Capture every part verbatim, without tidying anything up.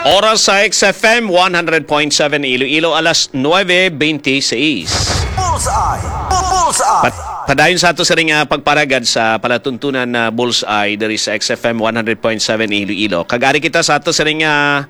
Oras sa X F M one hundred point seven Iloilo, alas nuebe beintiseis. Bullseye! Bullseye! Pat-, padayon sa ato sa ring, ah, pagparagad sa palatuntunan na Bullseye diri sa X F M one hundred point seven Iloilo. Kag ari kita sa ato sa ring, ah,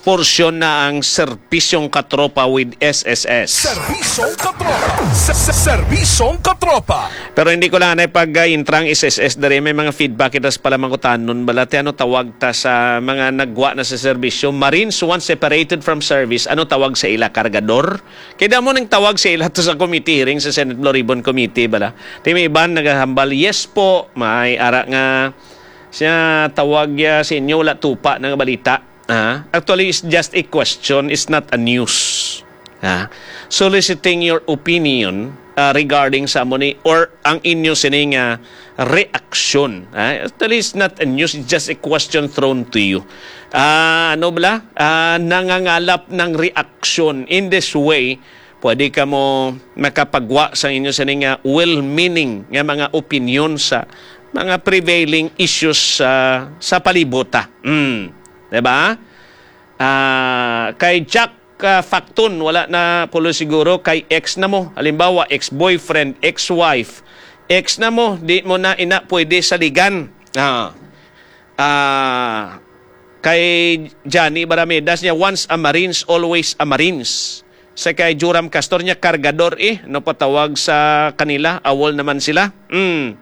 porsyon na ang Serbisyong Katropa with S S S. Serbisyong Katropa! Se-, se-, Serbisyong Katropa! Pero hindi ko lang anay pag, ah, intrang S S S diri. May mga feedback kita sa palamangutanon. Bala, ti ano tawag ta sa mga nagwa na sa serbisyo? Marines once separated from service, ano tawag sa ila? Kargador? Kaya mo nang tawag sa ila to sa committee hearing sa Senate Blue Ribbon Committee, bala. Ti may iban nagahambal, "Yes po, may ara nga siya tawag ya sa inyo, wala tupa na nga balita." Ah, actually, it's just a question. It's not a news. Ah, soliciting your opinion, ah, regarding sa amo ni or ang inyo sining, ah, reaksyon. Ah, actually, it's not a news. It's just a question thrown to you. Ah, ano bala? Ah, nangangalap ng reaksyon. In this way, pwede ka mo makapagwa sa inyo sining, ah, well-meaning nga mga opinion sa mga prevailing issues sa, sa palibot, ah. Mm. Diba? Ah, kay Jack, ah, Facton, wala na pulo siguro, kay ex na mo. Halimbawa, ex-boyfriend, ex-wife. Ex na mo, di mo na ina pwede saligan. Ah. Ah, kay Johnny Baramedas niya, "Once a Marines, always a Marines." Sa kay Joram Castor niya, "Kargador eh, ano patawag sa kanila? Awol naman sila." Hmm.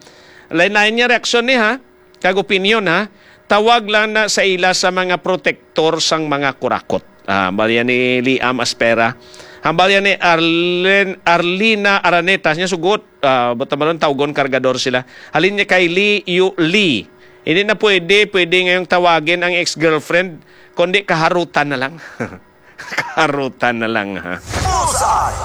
Lain-lain niya reaksyon ni ha. Kag opinyon, ha? Tawag lang na sa ila sa mga protektor sang mga kurakot. Ah, hambal yan ni Liam Aspera. Hambal yan ni Arlen, Arlina Araneta. Niya sugot, ah, butamaron tawgon kargador sila. Halin niya kay Lee Yu Lee. Hindi na pwede, pwede ngayong tawagin ang ex-girlfriend, kundi kaharutan na lang. Kaharutan na lang, ha? Bullseye!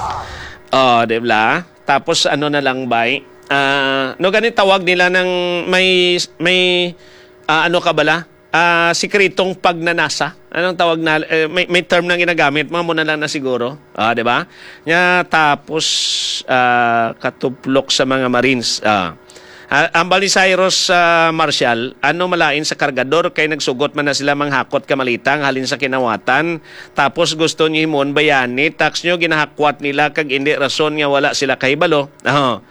Oh, di ba? Tapos ano na lang, bay? Ah, no, gani tawag nila ng may, may, ah, ano ka bala? Ah, sikretong pagnanasa. Anong tawag na, eh, may, may term na ginagamit, mga muna lang na siguro. Ah, di ba? Nya, tapos, ah, katuplok sa mga Marines. Ah. Ah, hambal ni Cyrus, ah, Marshall, ano malain sa kargador kay nagsugot man na sila manghakot ka malita nga halin sa kinawatan, tapos gusto niyo himuon bayani, tax niyo ginahakwat nila kag indi rason nga wala sila kahibalo. Oh.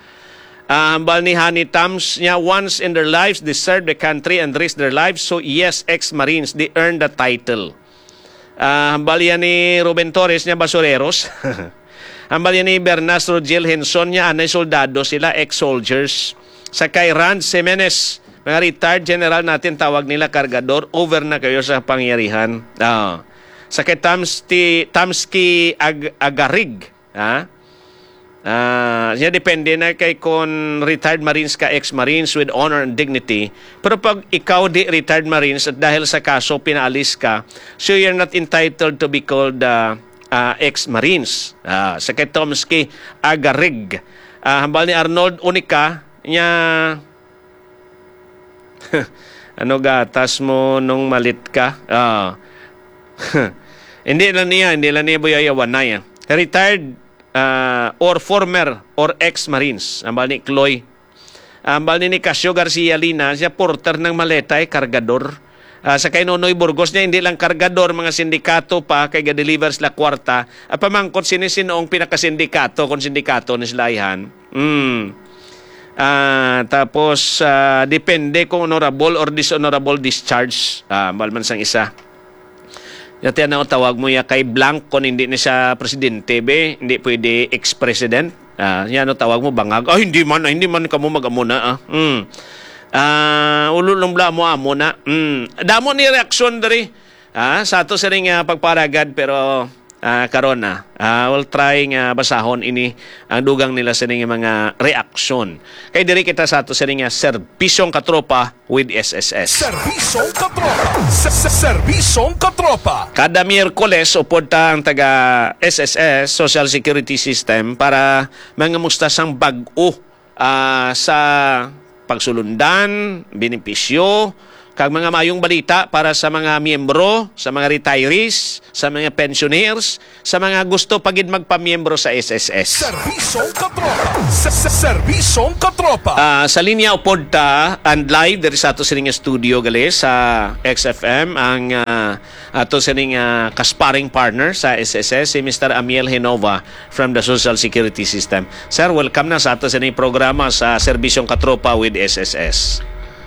Ah, hambal ni Honey Tams niya, "Once in their lives, they served the country and risked their lives. So yes, ex-Marines, they earned the title." Ah, hambal yan ni Ruben Torres niya, "Basureros." Hambal yan ni Bernas Rogel Henson niya, "Anay soldado sila, ex-soldiers." Sa kay Rand Jimenez, "Mga retired general natin, tawag nila kargador, over na kayo sa pangyarihan." Ah. Sa kay Tamsti, Tamski Ag-, Agarig, ha? Ah, siya depende na kay kon retired Marines ka, ex-Marines with honor and dignity. Pero pag ikaw di retired Marines at dahil sa kaso pinaalis ka, so you're not entitled to be called, ah, ah, ex-Marines. Ah, sa kay Tomsky Agarig. Ah, hambal ni Arnold Unica, niya, "Ano gatas mo nung malit ka?" Ah. Hindi lang niya, hindi lang niya buyayawanay, ah. Retired, ah, or former or ex-Marines. Hambal ni Chloe. Hambal ni Nicasio Garcia Lina, siya porter ng maleta, eh, kargador. Ah, sa kay Nonoy Burgos niya, hindi lang kargador, mga sindikato pa, kay ga-deliver sila kwarta. At pamangkot sini sino ang pinakasindikato, kung sindikato ni sila, ihan. Mm. Ah, tapos, ah, depende kung honorable or dishonorable discharge. Ah, hambal man sang isa. Yati na tawag mo ya kay blank kung hindi na siya presidente, be, hindi pwede ex-president. Ah, yan ang tawag mo, bangag. "Ah, hindi man, ah, hindi man kamo mag-amo na, ah." Hmm. Ah, ulo lang bla mo amo na. Hmm. Damo ni reaksyon diri. Ah, sa ato sining, ah, pagparagad, pero, ah, karon na. Ah, we'll try nga basahon ini ang dugang nila sining mga reaksyon. Kay diri kita sa ato sining, ah, serbisyong katropa with S S S. Serbisyong katropa. Se-, se-, serbisyong katropa. Kada Miyerkules, upod ta ang taga S S S, Social Security System, para mangamusta sang bag-o, ah, sa pagsulundan, benepisyo, kag mga maayong balita para sa mga miyembro, sa mga retirees, sa mga pensioners, sa mga gusto pa gid magpamiyembro sa S S S. Serbisyong Katropa. Sa, sa Serbisyong Katropa. Ah, sa linya upod ta and live diri sa ato sining studio gali sa X F M ang, ah, ato sining, ah, kasparring partner sa S S S, si Mister Amiel Genova from the Social Security System. Sir, welcome na sa ato sining programa sa Serbisyong Katropa with S S S.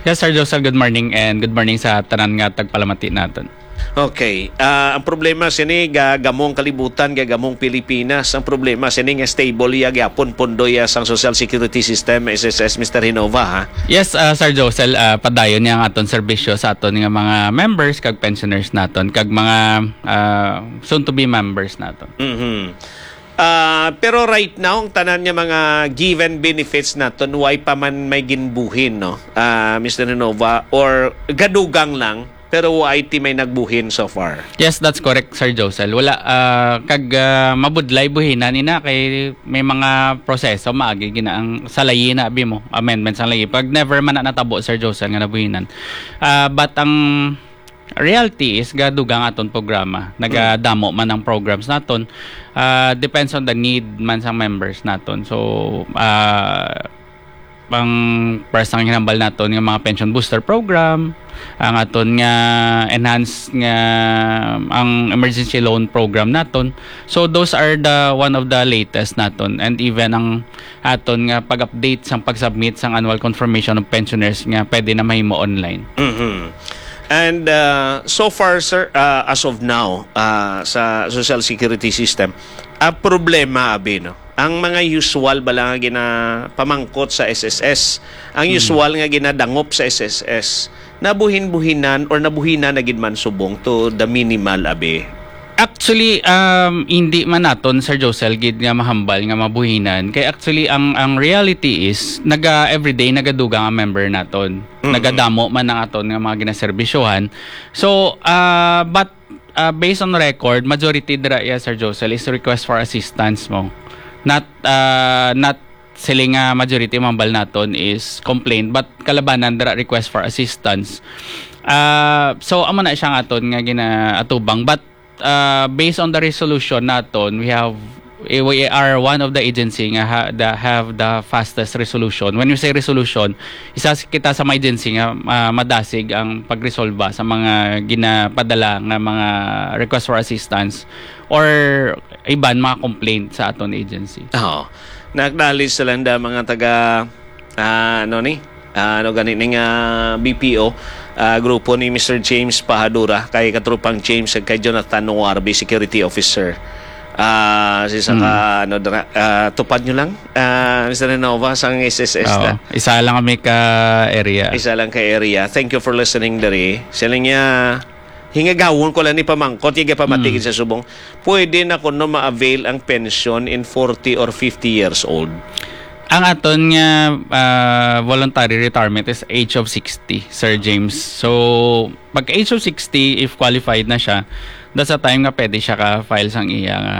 Yes, Sir Josel, good morning, and good morning sa tanan nga tagpalamati naton. Okay. Ah, ang problema sini, ga-, gamong kalibutan, ga-, gamong Pilipinas. Ang problema sini nga stable iya gyapon pondo iya sang Social Security System, S S S, Mister Genova, ha? Yes, ah, Sir Josel, ah, padayon niya ang aton serbisyo sa aton nga mga members kag pensioners naton kag mga, ah, soon to be members naton. Mhm. Ah, pero right now, ang tanan nga mga given benefits naton, why pa man may ginbuhin, no? Ah, Mister Genova, or gadugang lang, pero why ti may nagbuhin so far? Yes, that's correct, Sir Josel. Wala, ah, kag, ah, mabudlay buhinan ina kay may mga proseso maagi gina ang sa layi na abi mo, amendments ang layi. Pag never man na natabo, Sir Josel, nga nabuhinan. Ah, but ang reality is gadugang aton programa. Nagadamo man ang programs naton. Ah, depends on the need man sang members naton. So, ah, ang first ang hinambal naton nga mga pension booster program, ang aton nga enhanced nga ang emergency loan program naton. So those are the one of the latest naton, and even ang aton nga pag-update sang pag-submit sang annual confirmation of pensioners nga pwede na mahimo online. Mhm. And, uh, so far, sir, uh, as of now, uh, sa social security system, ang problema abi, no? Ang mga usual bala nga ginapamangkot sa S S S, ang Mm. usual nga ginadangop sa S S S, nabuhin-buhinan or nabuhinan na gid man subong to the minimal abi? Actually, um, hindi man naton, Sir Josel, gid nga mahambal nga mabuhinan. Kay actually, ang, ang reality is, naga, everyday nagadugang ang member naton. Mm-mm. Nagadamo man ang aton nga mga ginaserbisyohan. So, ah, but, ah, based on record, majority dira, yeah, Sir Josel, is request for assistance mo. Not, ah, not sila nga majority mambal naton is complaint, but kalabanan dira request for assistance. Ah, so, amo na siya ang aton nga ginaatubang. But, ah, based on the resolution naton, we have, eh, we are one of the agency nga ha, the, have the fastest resolution. When we say resolution, isa s-, kita sa mga agency nga, ah, madasig ang pagresolba sa mga ginapadala nga mga request for assistance or iban mga complaint sa aton agency. Oo. Na-acknowledge sa landa mga taga, ah, ano ni? Ah, ano gani ning, ah, B P O, ah, grupo ni Mister James Pahadura, kay Katropang James, kay Jonathan Nuarbi, security officer. Ah, si sa Mm. ka, ano dira, ah, tupad nyo lang, ah, Mister Renova, sang S S S Oo. na. Isa lang kami ka area. Isa lang ka area. Thank you for listening, diri. Sila niya, hingagawon ko lang ni pamangkot, higa pamatigid Mm. sa subong. Pwede na kuno ma-avail ang pensyon in forty or fifty years old? Ang aton nga, ah, voluntary retirement is age of sixty, Sir James. So, pag age of sixty, if qualified na siya, that's a time nga pwede siya ka-file sang iya nga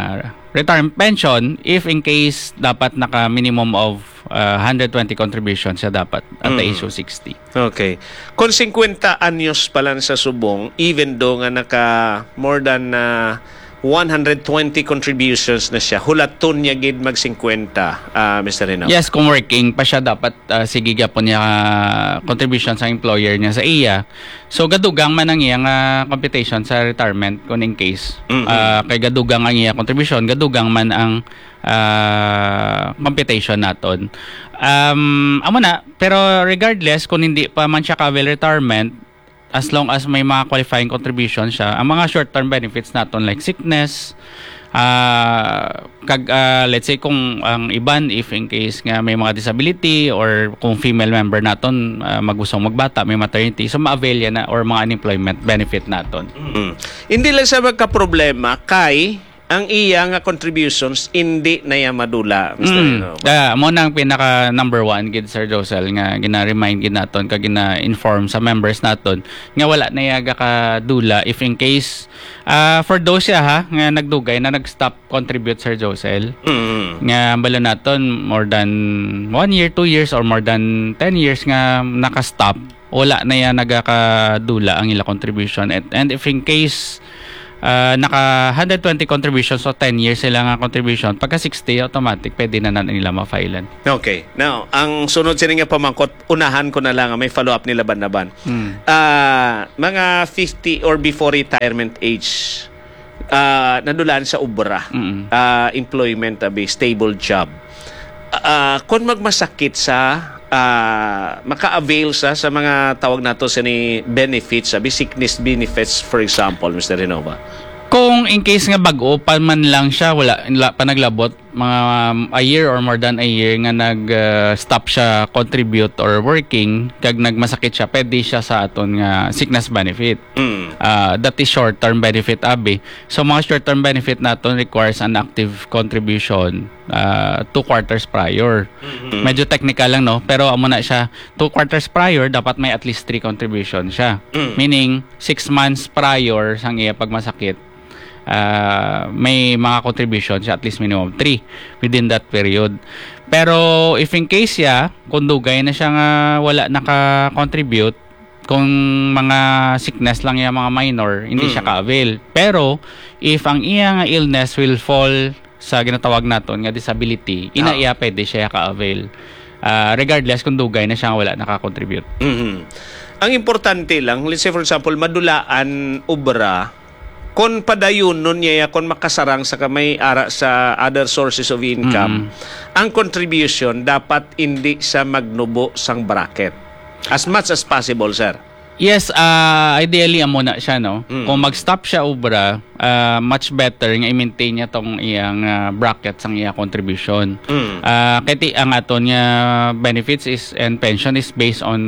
retirement pension if in case dapat naka minimum of, ah, hundred twenty contribution siya dapat at the Mm. age of sixty. Okay. Kung singkwenta anyos pa lang sa subong, even though nga naka more than, ah, one hundred twenty contributions na siya, hulaton niya gid mag singkwenta, ah, Mister Rino? Yes, kung working pa siya, dapat, ah, sige gyapon niya, ah, contribution sa employer niya sa iya. So, gadugang man ang iya nga computation sa retirement, kung in case. Mm-mm. Ah, kay gadugang ang iya contribution, gadugang man ang, ah, computation naton. Um, amo na, pero regardless, kung hindi pa man siya ka-avail retirement, as long as may mga qualifying contribution siya, ang mga short-term benefits naton like sickness, ah, kag, ah, let's say kung ang iban, if in case nga may mga disability or kung female member naton, ah, magustong magbata, may maternity, so ma-avail yan na or mga unemployment benefit naton. Mm. Hindi lang sa magka-problema kay ang iya nga contributions, hindi na iya madula, Mister Mm. Rino. Ah, mo na ang pinaka number one gid, Sir Josel, nga gina-remind gid naton kag gina-inform sa members naton nga wala na iya gakadula if in case, ah, for those siya, ha, nga nagdugay na nag-stop contribute, Sir Josel, Mm. nga bala naton more than one year, two years, or more than ten years nga naka-stop. wala na yan nagakadula ang ila contribution. And, and if in case, ah, naka hundred twenty contribution, so ten years sila nga contribution, pagka sixty, automatic, pwede na na nila ma-file-an. Okay. Now, ang sunod sini nga pamangkot, unahan ko na lang, may follow-up ni Laban-Laban. Hmm. Ah, mga fifty or before retirement age, ah, nadulaan sa obra, Mm. ah, employment, abi, stable job. Ah, kung magmasakit sa, ah, maka-avail sa, sa mga tawag nato sini benefits, abi, sickness benefits, for example, Mister Renova? Kung in case nga bag-o pa man lang siya, wala, wala pa naglabot, mga, um, a year or more than a year nga nag, uh, stop siya contribute or working, kag nagmasakit siya, pwede siya sa aton nga sickness benefit. Mm. Uh, that is short-term benefit, abi. So, mga short-term benefit naton requires an active contribution, uh, two quarters prior. Mm-hmm. Medyo technical lang, no? Pero amo na siya, two quarters prior, dapat may at least three contribution siya. Mm. Meaning, six months prior sang iya pagmasakit, ah, may mga contribution siya, at least minimum three within that period. Pero if in case siya, kung dugay na siya nga wala naka-contribute, kung mga sickness lang yan, mga minor, hindi siya Mm. ka-avail. Pero if ang iya nga illness will fall sa ginatawag naton nga disability, ina Ah. iya pwede siya ka-avail. Ah, regardless kung dugay na siya nga wala naka-contribute. Mhm. Ang importante lang, let's say for example, madulaan obra, kon padayunon niya, kon makasarang sa kamay ara sa other sources of income, Mm. ang contribution dapat hindi sa magnubo sang bracket. As much as possible, sir. Yes, ah, ideally, amo na siya, no? Mm. Kung mag-stop siya obra, ah, much better nga i-maintain niya tong iyang, ah, bracket sang iya contribution. Mm. Ah, kay ti-, ang aton nga benefits is, and pension is based on,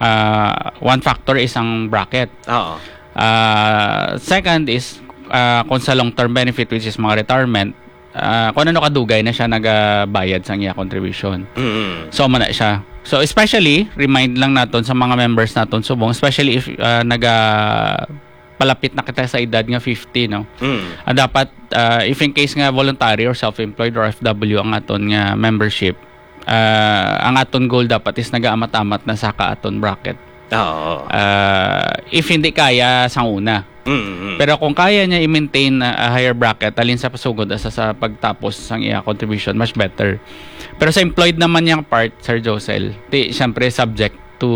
ah, one factor is ang bracket. Oo. Ah, second is, ah, kung sa long-term benefit, which is mga retirement, ah, kung ano kadugay na siya nagabayad sang iya contribution. Mm. So, amo na siya. So, especially, remind lang naton sa mga members naton subong, especially if, ah, naga-, palapit na kita sa edad nga fifty, no? Mm. Ah, dapat, ah, if in case nga voluntary or self-employed or F W ang aton nga membership, ah, ang aton goal dapat is nagaamat-amat na sa ka aton bracket. Oo. Ah, if hindi kaya, sang una. Mm, mm. Pero kung kaya niya i-maintain a, a higher bracket, halin sa pasugod asa sa pagtapos sang iya contribution, much better. Pero sa employed naman niyang part, Sir Josel, ti, siyempre subject to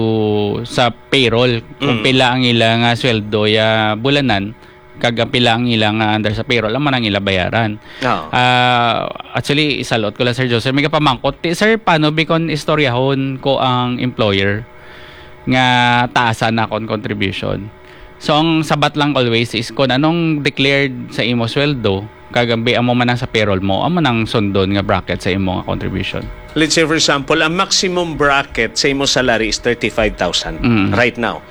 sa payroll, kung Mm. pila ang ila nga sweldo ya bulanan, kag ang pila ang ila nga under sa payroll, amo nang ila bayaran. Oo. Ah, actually, isalot ko lang, Sir Josel, may kapamangkot, ti, "Sir, paano bi kon istoryahon ko ang employer nga taasan na akon contribution?" So, ang sabat lang always is kung anong declared sa imo sweldo, kag ang bi-, amo man ang sa payroll mo, amo nang sundon nga bracket sa imo nga contribution. Let's say, for example, ang maximum bracket sa imo salary is thirty-five thousand Mm. right now.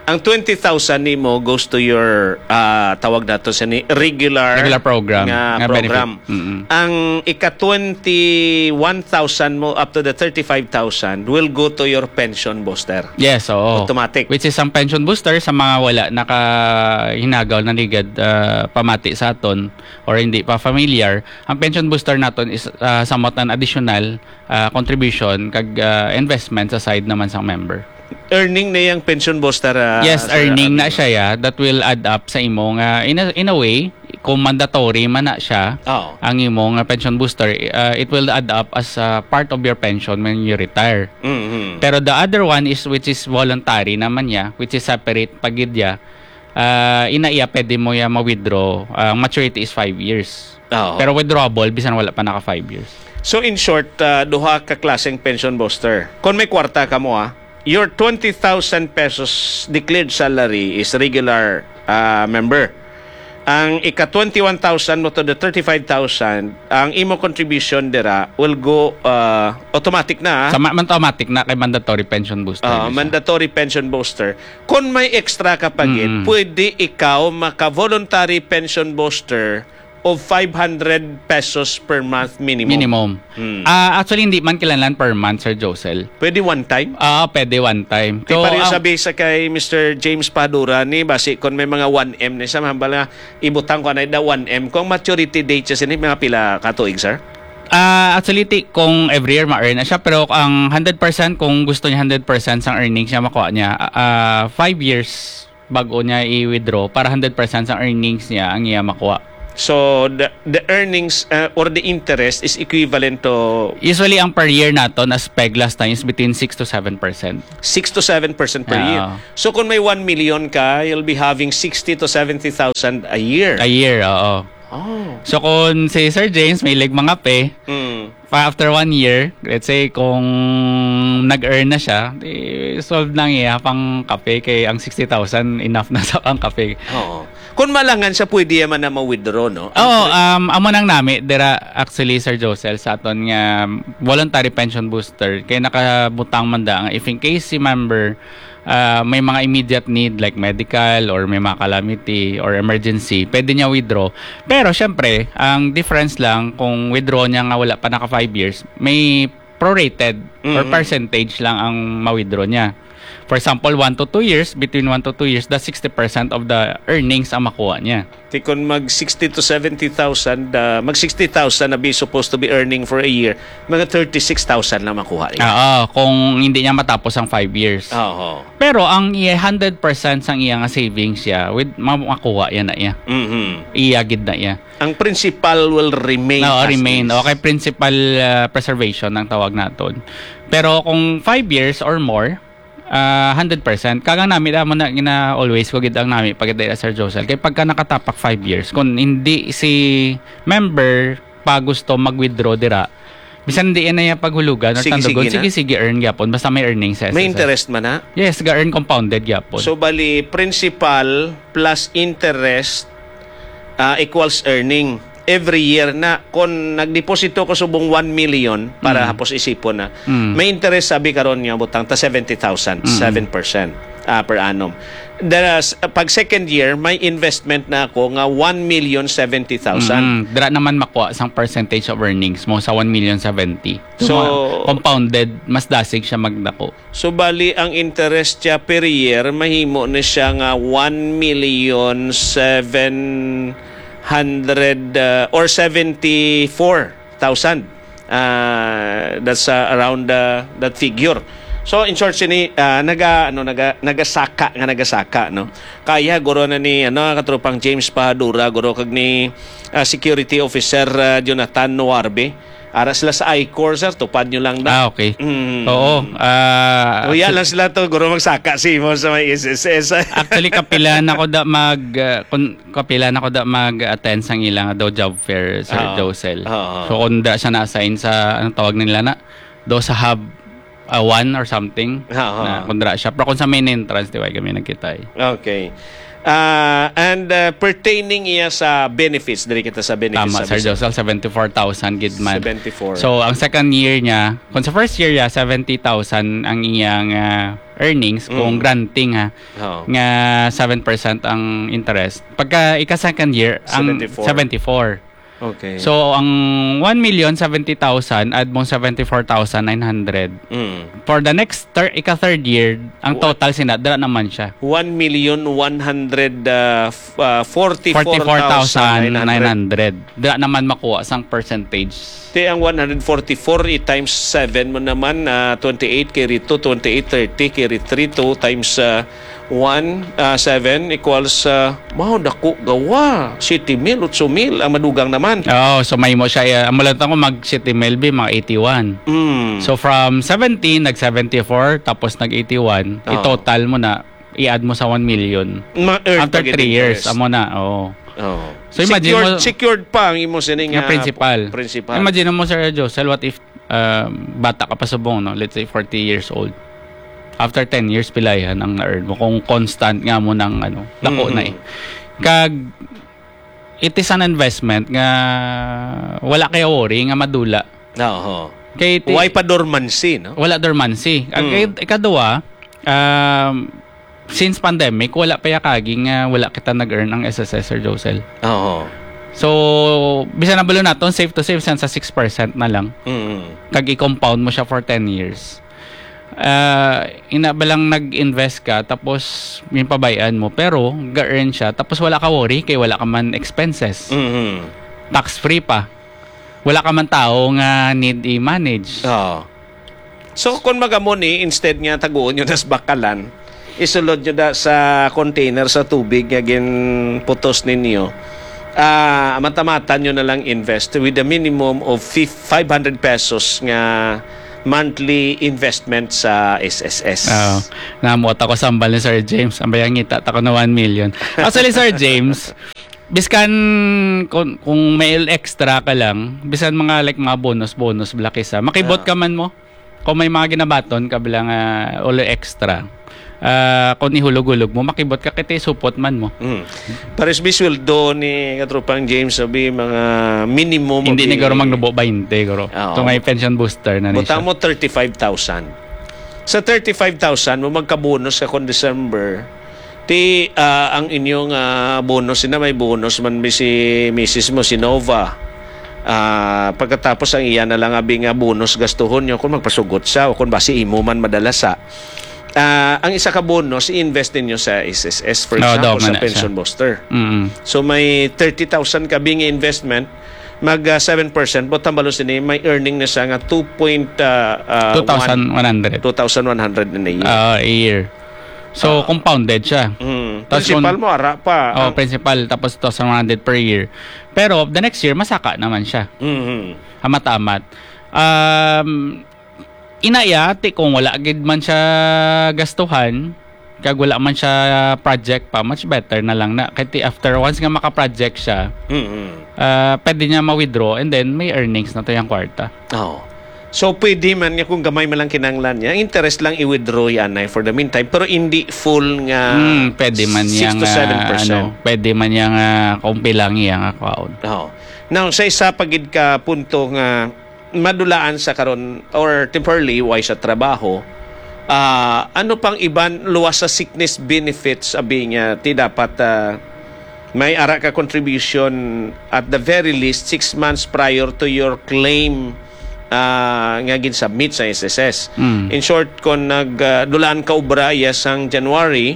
Ang twenty thousand nimo goes to your, ah, tawag nato sa ni regular Regular program nga nga program. benefit. Mm-mm. Ang ika twenty-one thousand mo up to the thirty-five thousand will go to your pension booster. Yes, oo. Automatic. Which is ang pension booster sa mga wala nakahinagaw na ligad, ah, pamati sa aton or hindi pa familiar, ang pension booster naton is, ah, somewhat an additional, ah, contribution kag, ah, investment sa side naman sang member. Earning na yang pension booster, ah, Yes, sir, earning na abi. siya, yeah. That will add up sa imo nga, in a, in a way, kung mandatory man na siya, Oo. ang imo nga pension booster, ah, it will add up as, ah, part of your pension when you retire. Mm-hmm. Pero the other one is, which is voluntary naman niya, which is separate pa gid ya, ah, ina iya pwede mo ya ma-withdraw. Ang maturity is five years. Oo. Pero withdrawable, bisan wala pa naka five years. So, in short, ah, duha ka klaseng pension booster. Kung may kwarta ka mo, ah, your twenty thousand pesos declared salary is regular, ah, member. Ang ika twenty-one thousand mo to the thirty-five thousand, ang imo contribution dira will go, ah, automatic na, ah. Sa ma-, man automatic na kay mandatory pension booster Ah, na siya. mandatory pension booster. Kung may extra ka pa gid, Mm. pwede ikaw maka-voluntary pension booster of five hundred pesos per month minimum. Minimum. Mm. Ah, actually, hindi man kinahanglan per month, Sir Josel. Pwede one time? Ah, pwede one time. Di So, pareho ang sa bisa kay Mister James Padura ni, basi kung may mga one M ni sa, hambal nga, ibutang ko na da one M. Kung maturity date siya sini, mga pila ka tuig, sir? Ah, actually, ti-, kung every year ma-earn na siya, pero ang hundred percent, kung gusto niya hundred percent sang earnings niya makuha niya, ah, five years bago niya i-withdraw para hundred percent sang earnings niya ang iya makuha. So, the, the earnings, uh, or the interest is equivalent to Usually, ang per year naton as peg last time is between six to seven percent. Six to seven percent per year. Oo. So, kung may one million ka, you'll be having sixty to seventy thousand a year. A year, oo. Oh. So, kung si Sir James may lig mga pe, Mm. pa after one year, let's say, kung nag-earn na siya, di solve na ang iya pang kape kay ang sixty thousand enough na sa pang kape. Oo. Kung malangan siya, pwede man na ma-withdraw, no? Oo, um, amo nang nami, dira actually, Sir Josel, sa aton nga voluntary pension booster, kay nakabutang man da nga if in case si member, ah, may mga immediate need like medical or may mga calamity or emergency, pwede niya withdraw. Pero syempre, ang difference lang kung withdraw niya nga wala pa naka five years, may prorated or Mm. percentage lang ang ma-withdraw niya. For example, one to two years, between one to two years, that's sixty percent of the earnings ang makuha niya. Ti kon mag sixty to seventy thousand, ah, mag sixty thousand na be supposed to be earning for a year, mga thirty-six thousand lang makuha niya. Oo, kung hindi niya matapos ang five years. Oo. Pero ang iya, hundred percent sang iya nga savings siya, with, ma-, makuha yan na iya. Mhm. Iya gid na iya. Ang principal will remain No, as remain. is. Okay, principal, ah, preservation ang tawag naton. Pero kung five years or more, ah, hundred percent. Kagang nami, amo na gina-, always ko gid ang nami pag dira, Sir Josel. Kay pagka nakatapak five years, kung hindi si member pa gusto mag-withdraw dira, bisan di na iya paghulugan or Sige, sige tandugon, na. sige, sige, earn gyapon. Basta may earnings sa May S S S. interest man na? Yes, ga-earn compounded gyapon. So, bali, principal plus interest, ah, equals earning. Every year na, kung nagdeposito ko subong one million para Mm. hapos isipon na, Mm. may interest, sabi karon nga butang ta seventy thousand, Mm. seven percent, ah, per annum. There's, pag second year, may investment na ako nga one million seventy thousand. Mm. Dira naman makuha sang percentage of earnings mo sa one million seventy. So, So, ma-, compounded, mas dasig siya magdako. So, bali, ang interest siya per year, mahimo na siya nga one million seven hundred, uh, or seventy-four thousand. Uh, that's, uh, around, uh, that figure. So, in short, sini, uh, naga-, ano, naga-, nagasaka nga nagasaka, no? Kaya, guro na ni, ano, katropang James Pahadura, guro, kag ni, uh, Security Officer, uh, Jonathan Noarbe. Ara sila sa I-Corps, sir. Tupad nyo lang na. Ah, okay. Mm. Oo. Ah, Huya so lang sila to, guro, magsaka si mo sa may S S S. Actually, kapila na ko da mag, ah, kun-, kapila na ko da mag-attend sang ilang daw job fair, Sir Oo. Josel. Oo. So, kung da siya na-assign sa, anong tawag nila na? Do sa hub, ah, one or something, Oo. na kung dira siya. Pero kung sa main entrance, di ba, kami nagkita eh. Okay. Ah, and, ah, pertaining iya sa benefits, diri kita sa benefits Tama, sa Sir business. Josel, seventy-four thousand gid man. Seventy-four. So, ang second year niya, kung sa first year niya, seventy thousand ang iyang, ah, earnings kung Mm. granting, ha, Oo. nga seven percent ang interest. Pagka ika second year, ang Seventy-four. seventy-four. Okay. So, ang one million seventy thousand, add mo seventy-four thousand nine hundred. Mm. For the next thir-, ika-third year, ang Wa- total sina, dira naman siya. One million one hundred, uh, f-, uh, forty-four thousand nine hundred. Forty-four thousand nine hundred. Dira naman makuha sang percentage. Ti ang one hundred forty-four i-times seven mo naman, ah, twenty-eight kay rito, twenty-eight thirty kay rito, times, ah, one, ah, seven equals, ah, wow, dako gawa. Siyete mil, otso mil ang madugang naman. Oo, so may mo siya, eh, amo lang ko mag siyete mil bi, mga eighty-one. Mm. So from seventeen, nag seventy-four, tapos nag eighty-one, Oo. i-total mo na, i-add mo sa one million. Ma-earn After pa gid three years, interest. Amo na, oo. Oo. So imagine Secured, mo secured pa ang imo sining, Nga ah, principal. principal. Imagine mo, Sir Josel, what if, um, bata ka pa subong, no? Let's say forty years old. After ten years, pilayan ang na-earn mo kung constant nga mo nang, ano, dako na eh. Mm-hmm. Kag, it is an investment nga wala kay worry nga madula. Oo. Kay ti-, Why pa dormancy, no? Wala dormancy. Ang Mm. kay-, ikaduha, um, since pandemic, wala pa ya kagi nga wala kita nag-earn ang S S S, Sir Josel. Oo. So, bisan na balo naton, safe to say, bisan sa six percent na lang. Mm. Kag i-compound mo siya for ten years. Ah, ina ba lang nag-invest ka, tapos yung pabayaan mo, pero ga-earn siya, tapos wala ka worry kay wala ka man expenses. Mm. Tax-free pa. Wala ka man tao nga need i-manage. Oo. So, kung magamo ni, instead nga taguon nyo nas bakalan, isulod nyo da sa container sa tubig nga ginputos ninyo, ah, matamatan nyo na lang invest with a minimum of fif-, five hundred pesos nga monthly investment sa S S S. Oo. Namuot ako sa ambal ni Sir James. Ang bayang ngita ta ko na one million. Actually, Sir James, biskan kung, kung may extra ka lang, bisan mga, like, mga bonus, bonus, black isa, makibot Ah. ka man mo. Kung may mga ginabaton ka bilang, ah, ulo extra, ah, kung ihulog-hulog mo, makibot ka, kay ti supot man mo. Mm. Pares bi sweldo ni katropang James, sabi, mga minimum Hindi abi ni guro magnubo bainte, guro. Oo. Ito nga yung pension booster na ni Buta siya. Mo thirty-five thousand. Sa thirty-five thousand mo, magkabonus ka kung December. Ti, ah, ang inyong, ah, bonus, na may bonus man bi si misis mo, si Nova. Ah, pagkatapos ang iya na lang abi nga bonus gastuhon nyo kung magpasugot siya o kung basi imo man madala sa. Ah, ang isa ka bonus, i-invest ninyo sa S S S, for Oo, example, daw, sa mana pension siya. Booster. Mm. So, may thirty thousand ka bing investment, mag, ah, seven percent, but tambalo sini, may earning na siya nga two point, ah, ah, Two thousand one hundred. Two thousand one hundred in a year. Ah, a year. So, Ah. compounded siya. Mm. Tas Principal kung mo, ara pa. Oh, Ang principal, tapos two thousand one hundred per year. Pero, the next year, masaka naman siya. Mhm. Amat-amat. Um, inaya, ti kung wala gid man siya gastuhan, kag wala man siya project pa, much better na lang na. Kay ti after, once nga maka-project siya, Mhm. ah, pwede niya ma-withdraw and then may earnings na to yung kwarta. Oo. So, pwede man niya kung gamay man lang kinanglan niya, interest lang i-withdraw yan ay for the meantime, pero hindi full nga Mm, pwede man six niya to nga, seven percent. Ano, pwede man niya nga kung pilang iya nga kwaon. Oo. Now, sa isa pa gid ka punto nga madulaan sa karon or temporarily way sa trabaho, ah, ano pang iban luwas sa sickness benefits abi nga ti dapat, ah, may ara ka contribution at the very least six months prior to your claim, ah, nga ginsubmit sa S S S. Mm. In short, kung nag, ah, dulaan ka obra iya sang January,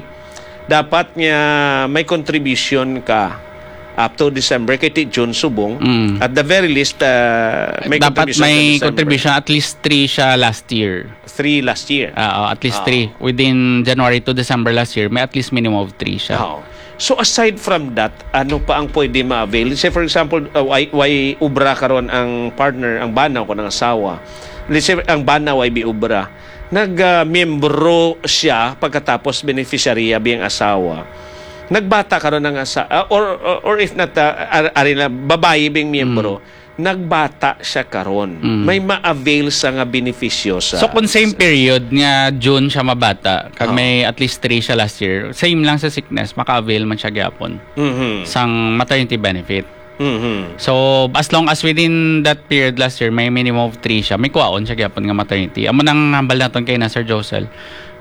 dapat nga may contribution ka up to December, kay ti June subong. Mm. At the very least, ah, may Dapat contribution may sa December. Contribution, at least three siya last year. Three last year. Ah, oh, at least Oo. Three. Within January to December last year, may at least minimum of three siya. Oo. So, aside from that, ano pa ang pwede ma-avail? Say, for example, uh, way, way obra karon ang partner, ang bana o ang asawa. Let's say, ang bana way bi obra. Nag, ah, miyembro siya pagkatapos beneficiary abi ang asawa. Nagbata karon ang asa-, ah, or, or, or if not, ah, ar-, ari na, babayi bing miyembro, Mm. nagbata siya karon. Mm. May ma-avail sa nga benepisyo sa So, kung same period nga June siya mabata, kag Oo. may at least three siya last year, same lang sa sickness, maka-avail man siya gyapon Mhm. sang maternity benefit. Mhm. So, as long as within that period last year, may minimum of three siya, may kuwaon siya gyapon nga maternity. Amo nang hambal naton kay na, Sir Josel.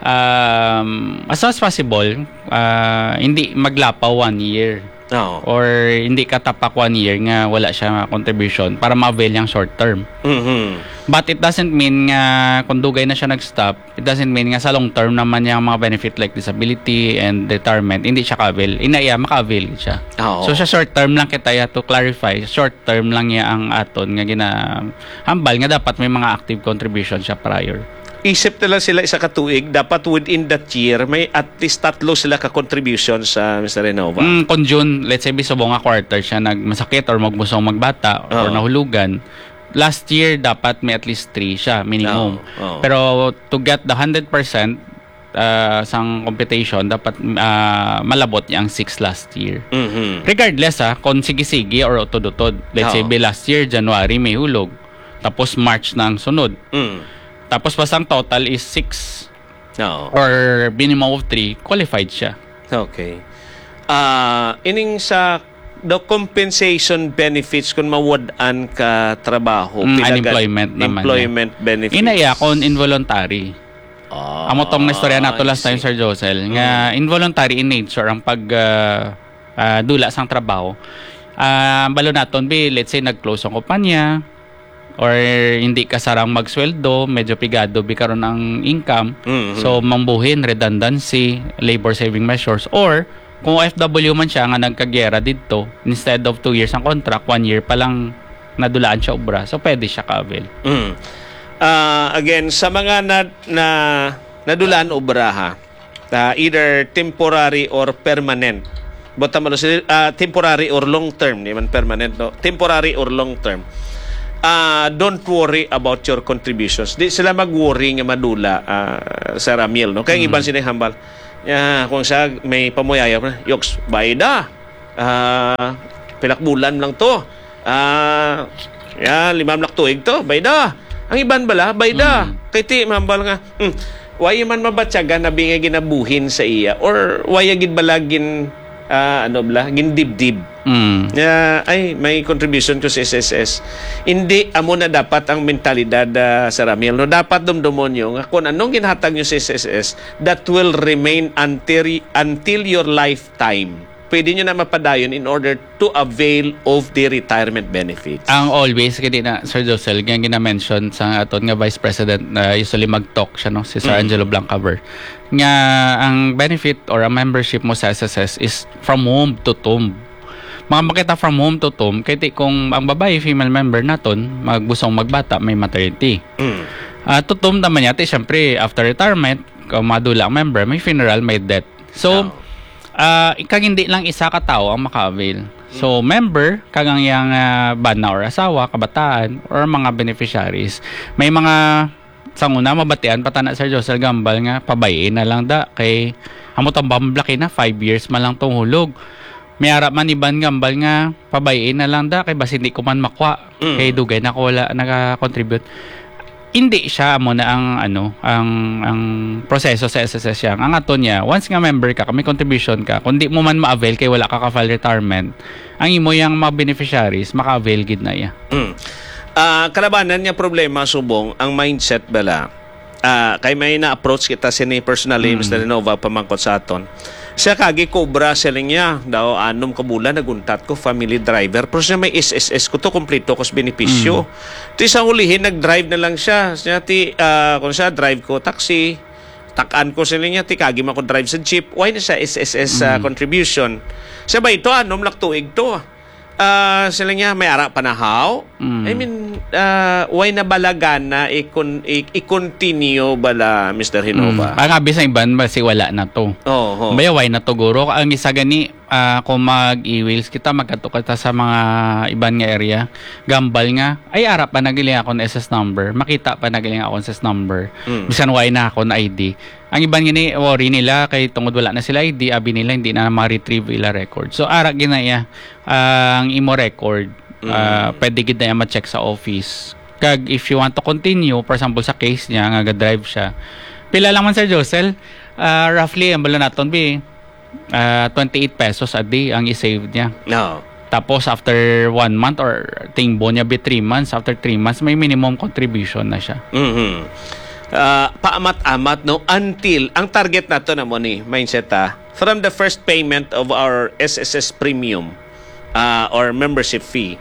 Um, as much as possible, ah, hindi maglapaw one year. Oo. Or hindi ka tapak one year nga wala siya contribution para ma-avail yang short term. Mhm. But it doesn't mean nga kung dugay na siya nag-stop, it doesn't mean nga sa long term naman yung mga benefit like disability and retirement, hindi siya ka-avail. Inaya, maka-avail siya. Oo. So, sa short term lang kita ya to clarify, short term lang ya ang aton nga ginahambal nga dapat may mga active contribution siya prior. Isip na lang sila isa ka tuig, dapat within that year, may at least tatlo sila ka contribution sa Mister Renova. Mm, kung June, let's say, bisubong nga quarter siya nagmasakit or magmusong magbata or Oo. nahulugan, last year, dapat may at least three siya, minimum. Oo, oo. Pero to get the hundred percent, ah, sang computation, dapat, ah, malabot niya ang six last year. Mhm. Regardless, ah, kung sige-sige or utod-utod. Let's say, Oo. bi last year, January, may hulog. Tapos March na ang sunod. Mm. Tapos basta ang total is six Oo. or minimum of three, qualified siya. Okay. Ah, ining sa the compensation benefits kung mawad-an ka trabaho, Mm, pila ka unemployment naman employment niya. Benefits? Inaya, kung involuntary. Ah, Amo tong naistorya nato I last time, see. Sir Josel, nga Mm. involuntary in nature ang pag, ah, ah, dula sang trabaho. Ah, balo naton, bi, let's say, nag-close ang kumpanya, or hindi ka sarang magsweldo, medyo pigado bi karon ang income. Mm-hmm. So, mangbuhin, redundancy, labor saving measures, or kung O F W man siya nga nagkagyera didto, instead of two years ang contract, one year pa lang nadulaan siya obra, so pwede siya ka-avail. Mm. Ah, again, sa mga na, na, nadulaan obra, ha, ah, either temporary or permanent. But tama, ah, temporary or long term, di man permanent, no? Temporary or long term. Ah, don't worry about your contributions. Di sila mag-worry nga madula, ah, Sir Amiel, no? Kaya ang iban sila hambal, ya, kung sa may pamuyaya pa, "Yoks, bayda. Ah, pilak bulan lang to. Ah, ya, lima na ka tuig to, bayda." Ang iban bala, bayda. Mm. Kay ti, mambal nga, "Hmm, why man mabatyagan na bingay ginabuhin sa iya? Or why gid bala gin, ah, ano bala, gindibdib?" Mm. Nga, "Ay, may contribution ko sa S S S." Hindi, amo na dapat ang mentalidad, ah, Sir Amiel, no? Dapat dumdumon nyo nga kung anong ginhatag nyo sa S S S, that will remain until, until your lifetime. Pwede nyo na mapadayon in order to avail of the retirement benefits. Ang always, kaya na, Sir Josel, nga gina-mention sa aton nga Vice President, na usually mag-talk siya, no? Si Sir Mm. Angelo Blancaver, nga ang benefit or ang membership mo sa S S S is from womb to tomb. Mga makita from womb to tomb, kay ti kung ang babae, female member naton, magbusong magbata, may maternity. Mm. Ah, to tomb naman yati, syempre, after retirement, kung madula ang member, may funeral, may death. So, Oh. ah, kag hindi lang isa ka tawo ang maka-avail. So, Mm. member, kag ang iyang, ah, bana or asawa, kabataan, or mga beneficiaries. May mga, sa una, mabatian pa tana, Sir Josel, gambal nga, pabay-i na lang da, kay amo tang bamblaki na, five years man lang tong hulog. May ara man iban gambal nga, pabay-i na lang da, kay basi hindi ko man makwa, Mm. kay dugay na ko wala naka-contribute. Hindi siya amo na ang, ano, ang, ang proseso sa S S S yang. Ang ato niya, once nga member ka, may contribution ka, kung di mo man ma-avail kay wala ka ka-file retirement, ang imo yang mga beneficiaries, maka-avail gid na iya. Mm. Ah, kalabanan nga problema, subong, ang mindset bala. Ah, kay may na-approach kita sini personally, Mm. Mister Renova, pamangkot sa aton. Siya kagi cobra, siling niya, daw anom ka bulan, naguntat ko, family driver. Pero siya may S S S ko to, kompleto ko sa benepisyo. Mm. Ti sa hulihin, nag-drive na lang siya. Siya ti, ah, kung siya, drive ko taxi, takan ko, siling niya, ti kagi man ko drive sa jeep. Why na siya S S S, ah, Mm. contribution? Siya ba ito, anom lang tuig to? Ah, sila niya, may ara pa na haw? Mm. I mean, ah, why na bala gana i-con-, i-, i-continue bala, Mister Hinova? Mm. Ang abi sa iban, basi wala na to. Oo. Baya, why na to, guro? Ang isa gani, ah, kung mag-e-wills kita, magkadto kita sa mga iban nga area, gambal nga, ay, ara pa na gali akong S S number, makita pa na gali akong S S number. Mm. Bisan why na akong I D. Ang iban gani, worry nila kay tungod wala na sila I D, abi nila hindi na ma-retrieve ila record. So, ara gina iya, ah, ang imo record, Mm. ah, pwede gid na iya ma-check sa office. Kag if you want to continue, for example, sa case niya nga ga-drive siya, pila lang man, Sir Josel? Ah, roughly, ang bala naton, bi, ah, twenty-eight pesos a day ang i-save niya. No. Tapos, after one month or tingbo niya, bi, three months, after three months, may minimum contribution na siya. Mhm. Ah, paamat-amat, no? Until, ang target nato na mo ni, mindset, ah, from the first payment of our S S S premium, ah, or membership fee,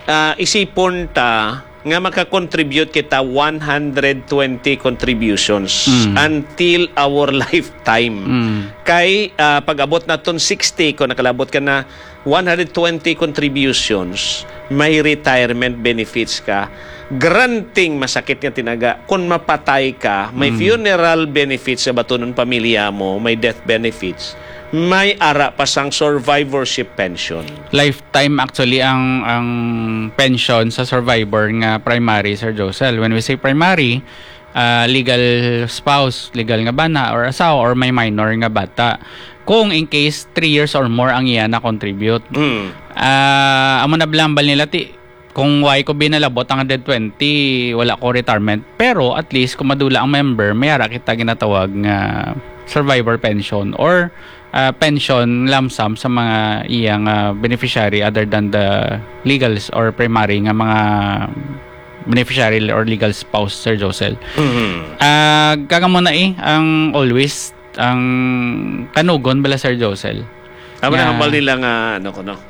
ah, isipon ta nga maka-contribute kita one hundred twenty contributions Mm. until our lifetime. Mm. Kay, ah, pag-abot naton sixty, kung nakalabot ka na one hundred twenty contributions, may retirement benefits ka. Granting masakit nga tinaga, kung mapatay ka, may Mm. funeral benefits sa batunon pamilya mo, may death benefits, may ara pa sang survivorship pension. Lifetime actually ang, ang pension sa survivor nga primary, Sir Josel. When we say primary, ah, legal spouse, legal nga bana or asawa, or may minor nga bata. Kung in case three years or more ang iya na-contribute. Mm. Ah, amo na blambal nila ti, kung why ko binalabot ang hundred twenty, wala ko retirement. Pero at least kung madula ang member, may ara kita ginatawag nga survivor pension or, ah, pension lump sum sa mga iyang, ah, beneficiary other than the legals or primary nga mga beneficiary or legal spouse, Sir Josel. Mhm. Ah, kag amo na, eh, ang always, ang kanugon bala, Sir Josel. Amo na, nga hambal nila nga, ano ko, no?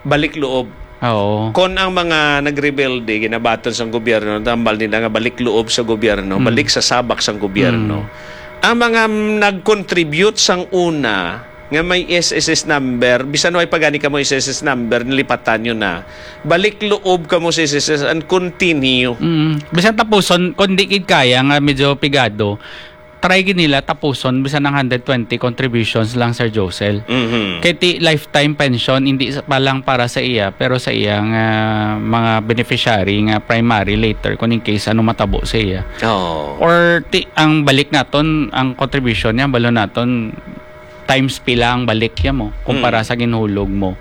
Balik loob. Oo. Kon ang mga nagrebelde, ginabaton sang gobyerno, hambal nila nga balik loob sa gobyerno, Mm. balik sa sabak sang gobyerno. Mm. Ang mga nag-contribute sang una, nga may S S S number, bisan way pa gani kamo S S S number, nilipatan nyo na. Balik loob kamo sa S S S and continue. Mm. Bisan tapuson, kung di gid kaya nga medyo pigado, try gid nila tapuson bisan ang hundred twenty contributions lang, Sir Josel. Mhm. Kay ti lifetime pension, hindi sa- pa lang para sa iya, pero sa iya nga mga beneficiary nga primary later kung in case ano matabo sa iya. Oh. Or ti, ang balik naton, ang contribution niya, balo naton, times pila ang balik niya mo kumpara Mm. sa ginhulog mo.